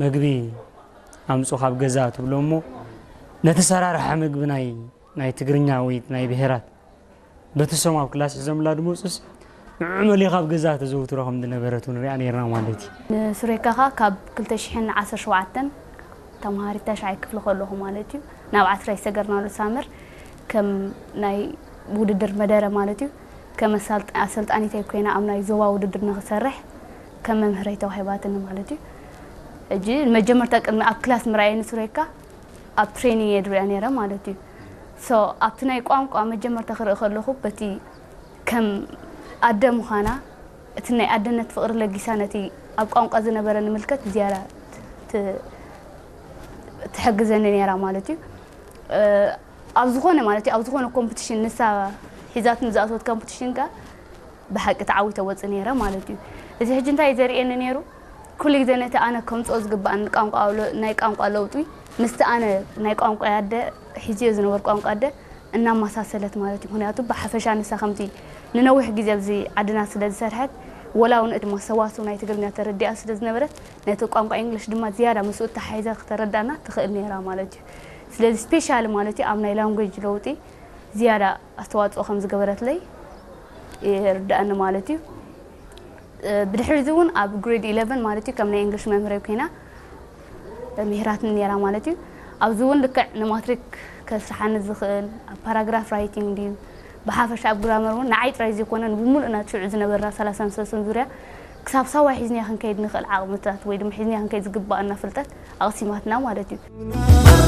መግቢ ኣምፁ ካብ ገዛ ትብሎ እሞ ነቲ ሰራርሓ ምግቢ ናይ ናይ ትግርኛ ወይ ናይ ብሄራት በቲ ሶም ኣብ ክላስ ሒዞምላ ድመፁስ ንዑ መሊኻ ኣብ ገዛ ተዘውትሮ ከም ዝነበረት እውን ሪኣ ነርና ማለት እዩ። ንሱሬካ ኸዓ ካብ ክልተ ሽሕን ዓሰርተ ሸውዓተን ተምሃሪት ታሽዓይ ክፍሊ ከለኹ ማለት እዩ ናብ ዓስራይ ዝሰገርናሉ ሳመር ከም ናይ ውድድር መደረ ማለት እዩ ከም ኣሰልጣኒተይ ኮይና ኣብ ናይ ዞባ ውድድር ንክሰርሕ ከም መምህረይ ተዋሂባትኒ ማለት እዩ። ሕጂ መጀመርታ ቅድሚ ኣብ ክላስ ምርኣየ ንሱሬካ ኣብ ትሬኒንግ እየ ዝሪኣ ነይረ ማለት እዩ። ሶ ኣብቲ ናይ ቋንቋ መጀመርታ ክርኢ ከለኹ በቲ ከም ኣደ ምዃና እቲ ናይ ኣደነት ፍቕሪ ለጊሳ ነቲ ኣብ ቋንቋ ዝነበረ ንምልከት ዝያዳ ትሕግዘኒ ነይራ ማለት እዩ። ኣብ ዝኾነ ማለት እዩ ኣብ ዝኾነ ኮምፒቲሽን ንሳ ሒዛት ንዝኣትወት ኮምፒቲሽን ከ ብሓቂ ተዓዊተ ወፅ ነይረ ማለት እዩ። እዚ ሕጂ እንታይ ዘርእየኒ ነይሩ ኩሉ ግዜ ነቲ ኣነ ከምፅኦ ዝግባኣኒ ቋንቋ ናይ ቋንቋ ለውጢ ምስቲ ኣነ ናይ ቋንቋ ኣደ ሒዝዮ ዝነበር ቋንቋ ኣደ እናመሳሰለት ማለት እዩ። ምክንያቱ ብሓፈሻ ንሳ ከምቲ ንነዊሕ ግዜ ኣብዚ ዓድና ስለ ዝሰርሐት ወላ እውን እቲ ሰዋስው ናይ ትግርኛ ተረዲኣ ስለ ዝነበረት ነቲ ቋንቋ ኢንግሊሽ ድማ ዝያዳ ምስኡ ተሓሒዛ ክተረዳና ትኽእል ነይራ ማለት እዩ። ስለዚ ስፔሻሊ ማለት እዩ ኣብ ናይ ላንጉጅ ለውጢ ዝያዳ ኣስተዋፅኦ ከም ዝገበረትለይ ይርዳእኒ ማለት እዩ። ብድሕሪ እዚ እውን ኣብ ግሬድ ኢለቨን ማለት እዩ ከም ናይ እንግሊሽ መምህረይ ኮይና ምሂራትኒ ነይራ ማለት እዩ። ኣብዚ እውን ልክዕ ንማትሪክ ከስርሓኒ ዝኽእል ኣብ ፓራግራፍ ራይቲንግ ድዩ ብሓፈሻ ኣብ ግራመር እውን ንዓይ ጥራይ ዘይኮነ ንብሙሉእና ሽዑ ዝነበርና ሰላሳን ሰለስተን ዙርያ ክሳብ ሳዋ ሒዝና ክንከይድ ንኽእል ዓቕምታት ወይ ድማ ሒዝና ክንከይድ ዝግባኣና ፍልጠት ኣቕሲማትና ማለት እዩ።